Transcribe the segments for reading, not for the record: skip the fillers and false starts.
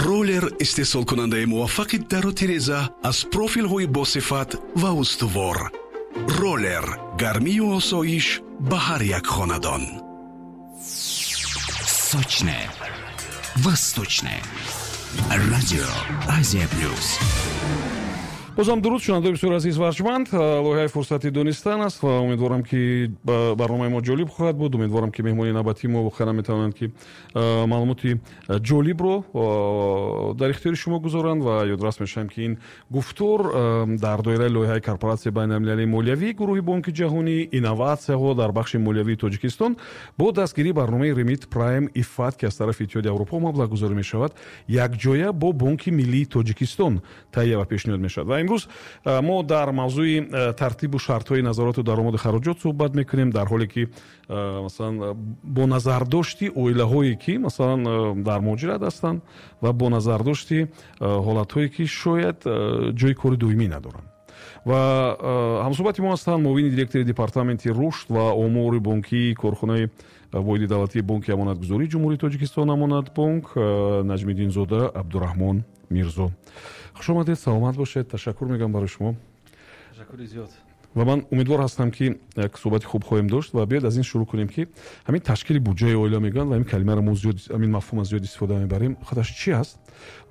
Роллер, истеҳсолкунандаи муваффақи дару тиреза аз профилҳои босифат ва устувор. Роллер, гармию осоиш ба ҳар як хонадон. Сочное, восточное радио «Азия Плюс». Бозам дуруд, шунавандаои бисёр азиз ва арҷманд. Лоиҳаи «Фурсати донистан» аст ва умедворам, ки барномаи мо ҷолиб хоҳад буд. Умедворам, ки меҳмони навбатии мо воқеан метавонанд, ки маълумоти ҷолибро дар ихтиёри шумо гузоранд. Ва ёдрас мешавем, ки ин гуфтор дар доираи лоиҳаи Корпоратсияи байналмилалии молиявӣ, гурӯҳи Бонки Ҷаҳонӣ, инноватсияҳо дар бахши молиявии Тоҷикистон бо дастгирии барномаи Ремит Прайм ИФАД, ки аз тарафи Иттиҳоди Аврупо маблағгузорӣ мешавад, якҷоя бо Бонки Миллии Тоҷикистон таҳия ва пешниҳод мешавад. Ва имрӯз мо дар мавзӯи тартибу шартҳои назорату даромаду хароҷот суҳбат мекунем, дар ҳоле ки, масалан, бо назардошти оилаҳое, ки, масалан, дар муҳоҷират ҳастанд, ва бо назардошти ҳолатҳое, ки шояд ҷои кори доимӣ надоранд. Ва ҳамсӯҳбати мо ҳастанд муовини директори департаменти рушд ва омори бонкии корхонаи воҳиди давлатии Бонки Амонатгузории Ҷумҳурии Тоҷикистон, Амонатбонк, Наҷмиддинзода Абдураҳмон Мирзо. Хуш омадед, саломат бошед, ташаккур мегӯям барои шумо. Ташаккури зиёд. Ва ман умедвор ҳастам, ки як суҳбати хуб хоҳем дошт. Ва биёед, аз ин шурӯъ кунем, ки ҳамин ташкили буҷаи оила мегӯянд ва ҳамин калимаро мо зиёд, ҳамин мафҳума зиёд истифода мебарем. Худаш чӣ аст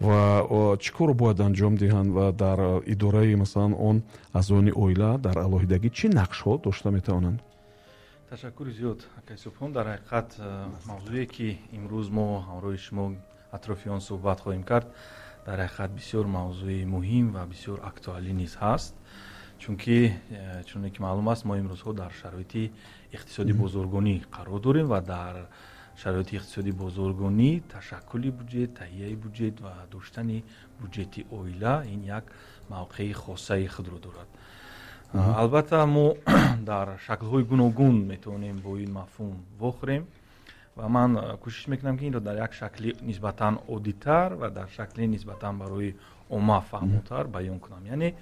ва чӣ корро бояд анҷом диҳанд ва дар идораи, масалан, он аъзоёни оила дар алоҳидагӣ чӣ нақшҳо дошта метавонанд? Ташаккури зиёд, акай Субҳон. Дар ҳақиқат, мавзӯе, ки имрӯз мо ҳамроҳи шумо атрофи он суҳбат хоҳем кард, дар ҳақиқат бисёр мавзӯи муҳим ва бисёр актуалӣ низ ҳаст, чунки, чуне ки маълум аст, мо имрӯзҳо дар шароити иқтисоди бозоргонӣ қарор дорем ва дар шароити иқтисоди бозоргонӣ ташаккули буҷет, таҳияи буҷет ва доштани буҷети оила ин як мавқеи хосаи худро дорад. Албатта, мо дар шаклҳои гуногун метавонем бо ин мафҳум вохӯрем ва ман кӯшиш мекунам, ки инро дар як шакли нисбатан оддитар ва дар шакли нисбатан барои омма фаҳмотар баён кунам. Яъне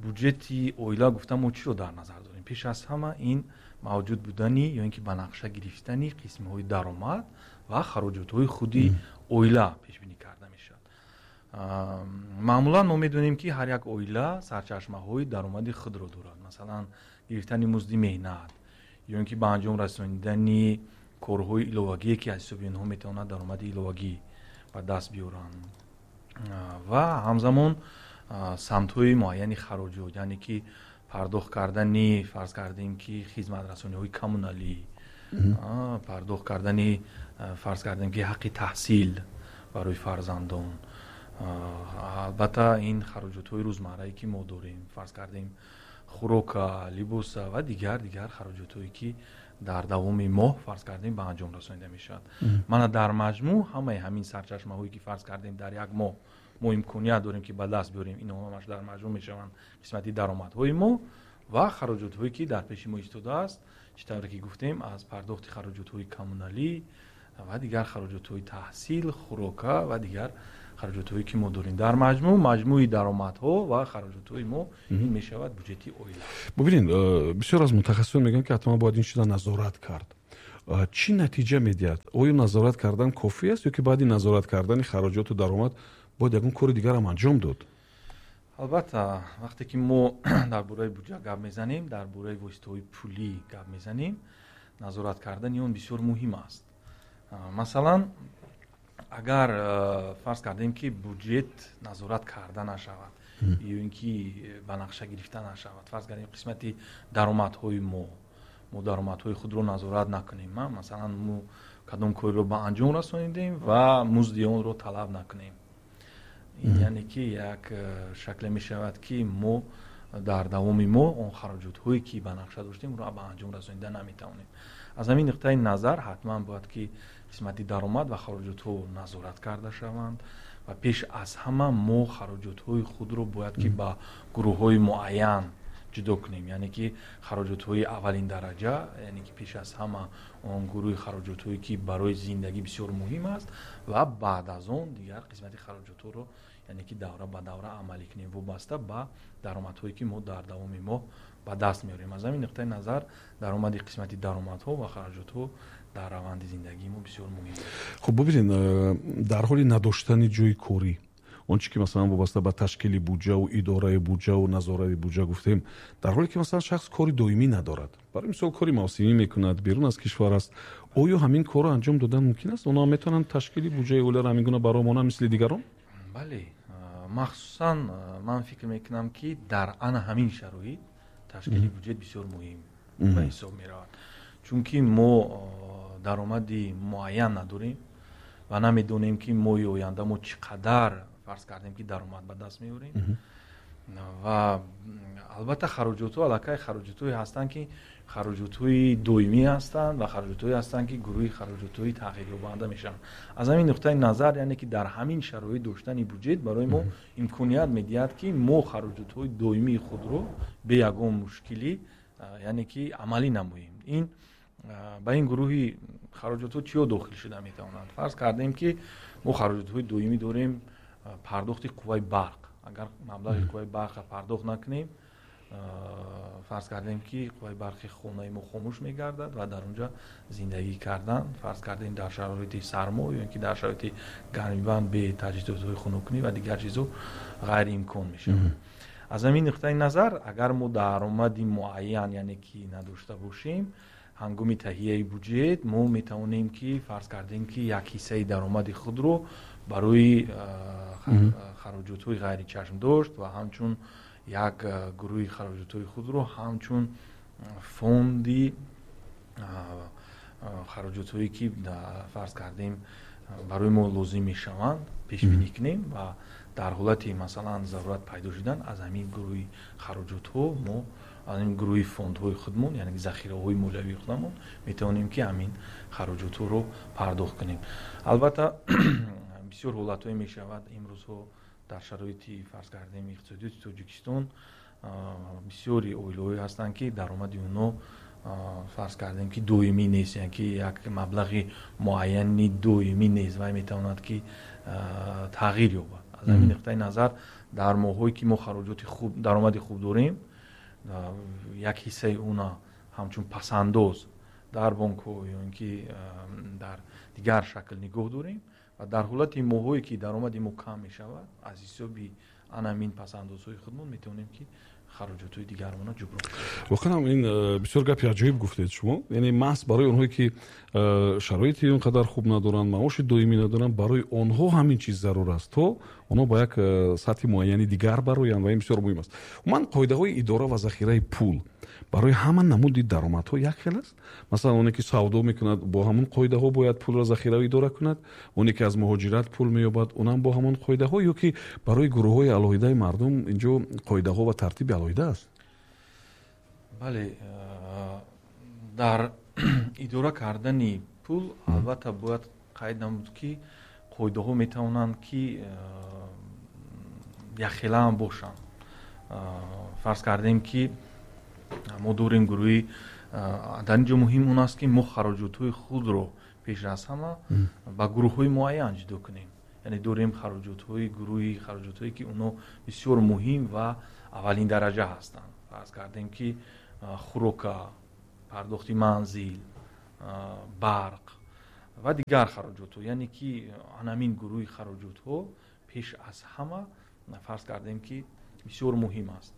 буҷети оила гуфта мо чиро дар назар дорем? Пеш аз ҳама, ин мавҷуд будани ё ин ки ба нақша гирифтани қисмҳои даромад ва хароҷотҳои худи оила пешбинӣ карда мешавад. Маъмулан мо медонем, ки ҳар як оила сарчашмаҳои даромади худро дорад, масалан, гирифтани музди меҳнат ё ин ки ба анҷом расонидани корҳои иловагие, ки аз ҳисоби онҳо метавонад даромади иловагӣ ба даст биёранд, ва ҳамзамон самтҳои муайяни хароҷот, яъне ки пардохт кардани, фарз кардем, ки хизматрасониҳои коммуналӣ, пардохт кардани, фарз кардем, ки ҳаққи таҳсил барои фарзандон, албатта, ин хароҷотҳои рӯзмаррае, ки мо дорем, фарз кардем, хӯрока, либоса ва дигар хароҷотҳое, ки дар давоми моҳ, фарз кардем, ба анҷом расонида мешавад. Мана, дар маҷмӯъ ҳамаи ҳамин сарчашмаҳое, ки, фарз кардем, дар як моҳ мо имконият дорем, ки ба даст биёрем, инҳо ҳамаш дар маҷмӯъ мешаванд қисмати даромадҳои мо ва хароҷотҳое, ки дар пеши мо истодааст, чӣ тавре ки гуфтем, аз пардохти хароҷотҳои коммуналӣ ва дигар хароҷотҳои таҳсил, хӯрока ва дигар хароҷотҳое, ки мо дорем. Дар маҷмӯъ, маҷмӯи даромадҳо ва хароҷотҳои мо ин мешавад буҷети оила. Бубинед, бисёр аз мутахассисон мегӯянд, ки ҳатман бояд ин чиза назорат кард. Чӣ натиҷа медиҳад? Оё назорат кардан кофӣ аст ё ки баъди назорат кардани хароҷоту даромад бояд ягон кори дигарам анҷом дод? Албатта, вақте ки мо дар бораи буҷа гап мезанем, дар бораи воситаҳои пулӣ гап мезанем, назорат кардани он бисёр муҳим аст. Масалан, агар, фарз кардем, ки буҷет назорат карда нашавад ё ин ки ба нақша гирифта нашавад, фарз кардем, қисмати даромадҳои мо даромадҳои худро назорат накунем, масалан, мо кадом корро ба анҷом расонидем ва музди онро талаб накунем, ин яъне ки як шакле мешавад, ки мо дар давоми моҳ он хароҷотҳое, ки ба нақша доштем, онро ба анҷом расонида наметавонем. Аз ҳамин нуқтаи назар ҳатман бояд, ки қисмати даромад ва хароҷотҳо назорат карда шаванд ва пеш аз ҳама мо хароҷотҳои худро бояд, ки ба гурӯҳҳои муайян ҷудо кунем, яъне ки хароҷотҳои аввалин дараҷа, яъне ки пеш аз ҳама он гурӯҳи хароҷотҳое, ки барои зиндагӣ бисёр муҳим аст, ва баъд аз он дигар қисмати хароҷотҳоро, яъне ки давра ба давра амалӣ кунем, вобаста ба даромадҳое, ки мо дар давоми моҳ ба даст меорем. Аз ҳамин нуқтаи назар даромади қисмати даромадҳо ва хароҷотҳо Дар раванди зиндагии мо бисёр муҳим аст. Хуб, бубинед, дар ҳоли надоштани ҷои корӣ, он чи ки масалан вобаста ба ташкили буҷаву идораи буҷаву назораи буҷа гуфтем, дар ҳоле ки масалан шахс кори доимӣ надорад, барои мисол кори мавсимӣ мекунад, берун аз кишвар аст, оё ҳамин корро анҷом додан мумкин аст? Онҳо метавонанд ташкили буҷаи оиларо ҳамин гуна бароҳ монанд, мисли дигарон? Бале, махсусан ман фикр мекунам, ки дар ана ҳамин шароит ташкили буҷет бисёр муҳим ба ҳисоб меравад, чунки мо даромади муайян надорем ва намедонем, ки моҳи оянда мо чӣ қадар, фарз кардем, ки даромад ба даст меорем. Ва албатта хароҷотҳо аллакай хароҷотҳое ҳастанд, ки хароҷотҳои доимӣ ҳастанд, ва хароҷотҳое ҳастанд, ки гурӯҳи хароҷотҳои тағйирёбанда мешаванд. Аз ҳамин нуқтаи назар, яъне ки дар ҳамин шароит доштани буҷет барои мо имконият медиҳад, ки мо хароҷотҳои доимии худро бе ягон мушкилӣ, яъне ки амалӣ намоем. Ин ба ин гурӯҳи хароҷотҳо чиё дохил шуда метавонанд? Фарз кардем, ки мо хароҷотҳои доимӣ дорем: пардохти қувваи барқ. Агар маблағи қувваи барқро пардохт накунем, фарз кардем, ки қувваи барқи хонаи мо хомӯш мегардад ва дар онҷа зиндагӣ кардан, фарз кардем, дар шароити сармо ё ки дар шароити гармибанд бе таҷҳизотҳои хунуккунӣ ва дигар чизҳо ғайриимкон мешавад. Аз ҳамин нуқтаи назар, агар мо даромади муайян, яъне ки надошта бошем, ҳангоми таҳияи буҷет мо метавонем, ки фарз кардем, ки як ҳиссаи даромади худро барои хароҷотҳои ғайричашмдошт ва ҳамчун як гурӯҳи хароҷотҳои худро ҳамчун фонди хароҷотҳое, ки фарз кардем, барои мо лозим мешаванд, пешбинӣ кунем ва дар ҳолати масалан зарурат пайдо шудан аз ҳамин гурӯҳи хароҷотҳо мо, аз ҳамин гурӯҳи фондҳои худмон, яъне захираҳои молиявии худамон метавонем, ки ҳамин хароҷотҳоро пардохт кунем. Албатта, бисёр ҳолатҳое мешавад имрӯзҳо дар шароити, фарз кардем, иқтисодиёти Тоҷикистон бисёри оилаҳое ҳастанд, ки даромади онҳо, фарз кардем, ки доимӣ нест, яъне ки як маблағи муайяни доимӣ нест, вай метавонад, ки тағйир ёбад. Аз ҳамин нуқтаи назар, дар моҳҳое ки мо хароҷоти хуб, даромади хуб дорем, як ҳиссаи она ҳамчун пасандоз дар бонкҳо ё ин ки дар дигар шакл нигоҳ дорем ва дар ҳолати моҳҳое ки даромади мо кам мешавад, аз ҳисоби анамин пасандозҳои худмон метавонем, ки хароҷотҳои дигармонро ҷуброн кунем. Воқеан ҳам ин бисёр гапи аҷоиб гуфтед шумо. Яъне маҳз барои онҳое ки шароити он қадар хуб надоранд, маоши доимӣ надоранд, барои онҳо ҳамин чиз зарур аст, то онҳо ба як сатҳи муайяни дигар бароянд, ва ин бисёр муҳим аст. Умуман, қоидаҳои идора ва захираи пул барои ҳама намуди даромадҳо як хел аст? Масалан, оне ки савдо мекунад, бо ҳамон қоидаҳо бояд пулро захира идора кунад, оне ки аз муҳоҷират пул меёбад, унам бо ҳамон қоидаҳо, ё ки барои гурӯҳҳои алоҳидаи мардум инҷо қоидаҳо ва тартиби алоҳида аст? Бале, дар идора кардани пул албатта бояд қайд намуд, ки қоидаҳо метавонанд, ки якхелаам бошанд. Фарз кардем, ки мо дорем гурӯҳи, дар ин ҷо муҳим он аст, ки мо хароҷотҳои худро пеш аз ҳама ба гурӯҳҳои муайян ҷудо кунем. Яъне дорем хароҷотҳои, гурӯҳи хароҷотҳое, ки онҳо бисёр муҳим ва аввалин дараҷа ҳастанд. Фарз кардем, ки хӯрока, пардохти манзил, барқ ва дигар хароҷотҳо. Яъне ки анамин гурӯҳи хароҷотҳо пеш аз ҳама, фарз кардем, ки бисёр муҳим аст.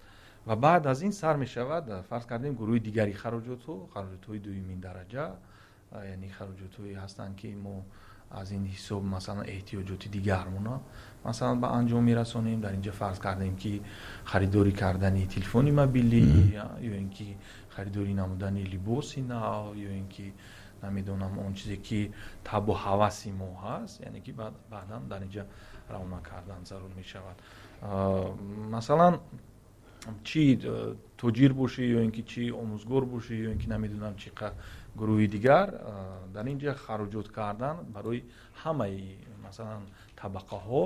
Ва баъд аз ин сар мешавад, фарз кардем, гурӯҳи дигари хароҷотҳо, хароҷотҳои дуюмин дараҷа, яъне хароҷотҳое ҳастанд, ки мо аз ин ҳисоб масалан эҳтиёҷоти дигармона масалан ба анҷом мерасонем. Дар инҷа фарз кардем, ки харидорӣ кардани телефони мобилӣ ё ин ки харидорӣ намудани либоси нав ё ин ки намедонам, он чизе ки табу ҳаваси мо ҳаст, яъне ки баъдан дар инҷа равона кардан зарур мешавад. Масалан, чӣ тоҷир бошӣ ё ин ки чӣ омӯзгор бошӣ ё ин ки намедонам чӣ гурӯҳи дигар, дар ин ҷа хароҷот кардан барои ҳамаи масалан табақаҳо,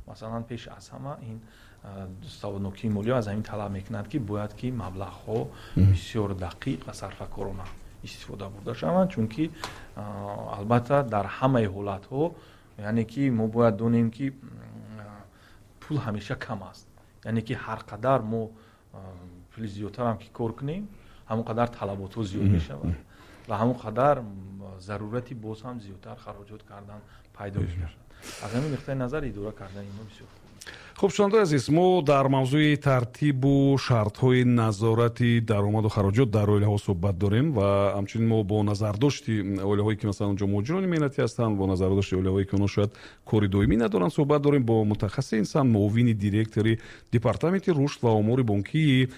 масалан, пеш аз ҳама ин саводнокии молиё аз ҳамин талаб мекунад, ки бояд ки маблағҳо бисёр дақиқ ва сарфакорона истифода бурда шаванд, чунки албатта дар ҳамаи ҳолатҳо, яъне ки мо бояд донем, ки пул ҳамеша кам аст. Яъне ки ҳар қадар мо пули зиёдтарам ки кор кунем, ҳамон қадар талаботҳо зиёд мешавад. Ва ҳамон қадар зарурати боз ҳам зиёдтар хароҷот кардан пайдо мешавад. Аз ҳамин нуқтаи назар идора кардани инҳо бисёр хуб. Хуб, шунавандаи азиз, мо дар мавзӯи тартибу шартҳои назорати даромаду хароҷот дар оилаҳо суҳбат дорем ва ҳамчунин мо бо назардошти оилаҳое, ки масалан онҷо муҳоҷирони меҳнатӣ ҳастанд, бо назардошти оилаҳое, ки онҳо шояд кори доимӣ надоранд, суҳбат дорем бо мутахассиси инсан, муовини директори департаменти рушд ва омори бонкии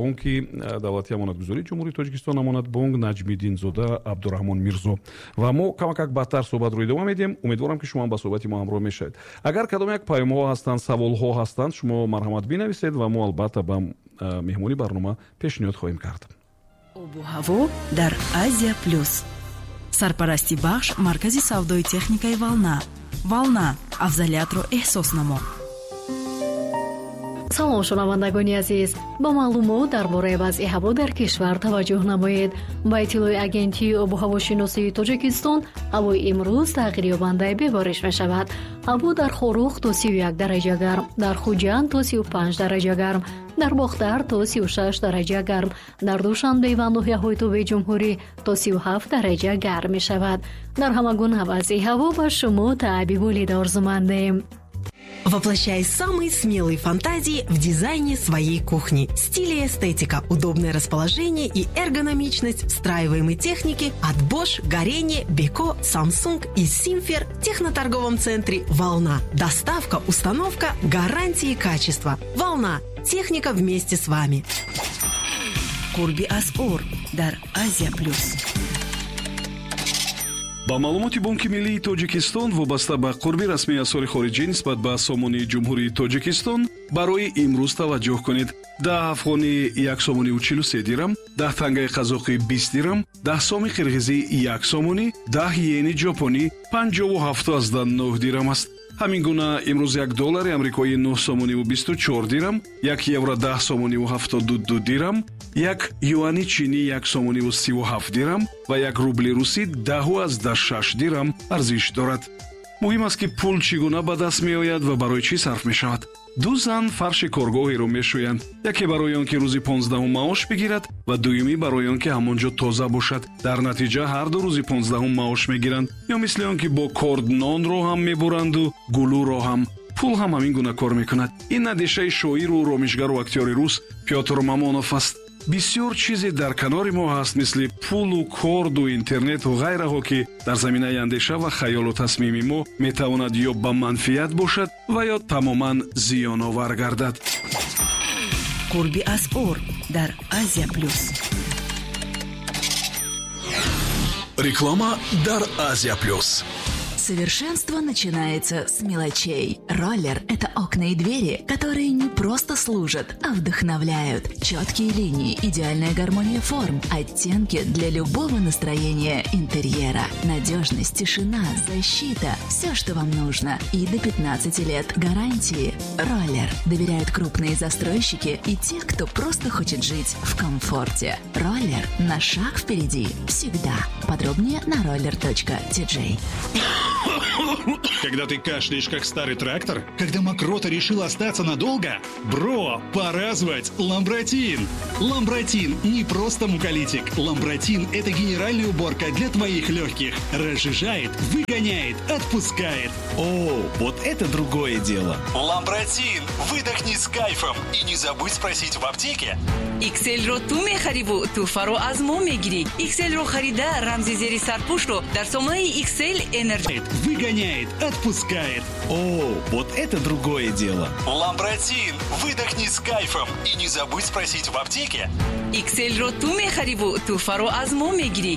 Бонки давлатии амонатгузории Ҷумҳурии Тоҷикистон Амонатбонк Наҷмиддинзода Абдураҳмон Мирзо. Ва мо камакак баъдтар суҳбатро идома медиҳем. Умедворам, ки шумо ҳам ба суҳбати мо ҳамроҳ мешавед. Агар кадом як паёмҳо ҳастанд, саволҳо ҳастанд, шумо марҳамат бинависед ва мо албатта ба меҳмони барнома пешниҳод хоҳем кард. Обу ҳаво дар Азия Плюс. Сарпарасти бахш маркази савдои техникаи «Волна». «Волна», афзалиятро эҳсос намо. Салом, шунавандагони азиз! Ба маълумот дар бораи вазъи ҳаво дар кишвар таваҷҷӯҳ намоед. Ба иттилои Агентии обуҳавошиносии Тоҷикистон, ҳавои имрӯз тағйирёбандаи бебориш мешавад. Ҳаво дар Хоруғ то 31 дараҷа гарм, дар Хуҷанд то 35 дараҷа гарм, дар Бохтар то 36 дараҷа гарм, дар Душанбе ва ноҳияҳои тобеи ҷумҳурӣ то 37 дараҷа гарм мешавад. Дар ҳама гуна вазъи ҳаво ба шумо таъби болида орзумандем. Воплощай самые смелые фантазии в дизайне своей кухни. Стиль и эстетика, удобное расположение и эргономичность встраиваемой техники от Bosch, Gorenje, Beko, Samsung и Simfer в техноторговом центре «Волна». Доставка, установка, гарантии качества. «Волна». Техника вместе с вами. Қурби асъор дар Азия Плюс. Ба маълумоти Бонки миллии Тоҷикистон, вобаста ба қурби расмии асъори хориҷӣ нисбат ба сомонии Ҷумҳурии Тоҷикистон барои имрӯз таваҷҷӯҳ кунед: 10 афғонӣ 1 сомониву 43 дирам, 10 тангаи қазоқӣ 20 дирам, 10 соми қирғизӣ 1 сомонӣ, 10 йени ҷопонӣ 57,9 дирам аст. Ҳамин гуна имрӯз як доллари амрикоӣ 9 сомониву 24 дирам, як евро 10 сомониву 72 дирам, як юани чинӣ 1 сомониву 37 дирам ва як рубли русӣ 10,6 дирам арзиш дорад. Муҳим аст, ки пул чӣ гуна ба даст меояд ва барои чӣ сарф мешавад. Ду зан фарши коргоҳеро мешӯянд: яке барои он ки рӯзи 15-ум маош бигирад ва дуюмӣ барои он ки ҳамон ҷо тоза бошад. Дар натиҷа ҳар ду рӯзи 15-ум маош мегиранд. Ё мисли он ки бо корд нонро ҳам мебуранду гулӯро ҳам. Пул ҳам ҳамин гуна кор мекунад. Ин андешаи шоиру ромишгару актёри рус Пётр Мамонов аст. Бисёр чизе дар канори мо ҳаст, мисли пулу корду интернету ғайраҳо, ки дар заминаи андеша ва хаёлу тасмими мо метавонад ё ба манфиат бошад ва ё тамоман зиёновар гардад. Қурби асъор дар Азия Плюс. Реклама дар Азия Плюс. Совершенство начинается с мелочей. Роллер – это окна и двери, которые не просто служат, а вдохновляют. Четкие линии, идеальная гармония форм, оттенки для любого настроения интерьера. Надежность, тишина, защита – все, что вам нужно. И до 15 лет гарантии. Роллер. Доверяют крупные застройщики и те, кто просто хочет жить в комфорте. Роллер на шаг впереди. Всегда. Подробнее на roller.tj. Когда ты кашляешь, как старый трактор? Когда мокрота решила остаться надолго? Бро, пора звать Ламбратин! Ламбратин не просто муколитик. Ламбратин – это генеральная уборка для твоих легких. Разжижает, выгоняет, отпускает. О, вот это другое дело. Ламбратин! Выдохни с кайфом. И не забудь спросить в аптеке. XL-ро ту мехариву тӯҳфаро аз мо мегирӣ. XL-ро харида, рамзи зери сарпӯшро дар сомонаи XL Energy. Выгоняет, отпускает. О, вот это другое дело. Ламбратин! Выдохни с кайфом. И не забудь спросить в аптеке. XL-ро ту мехариву тӯҳфаро аз мо мегирӣ.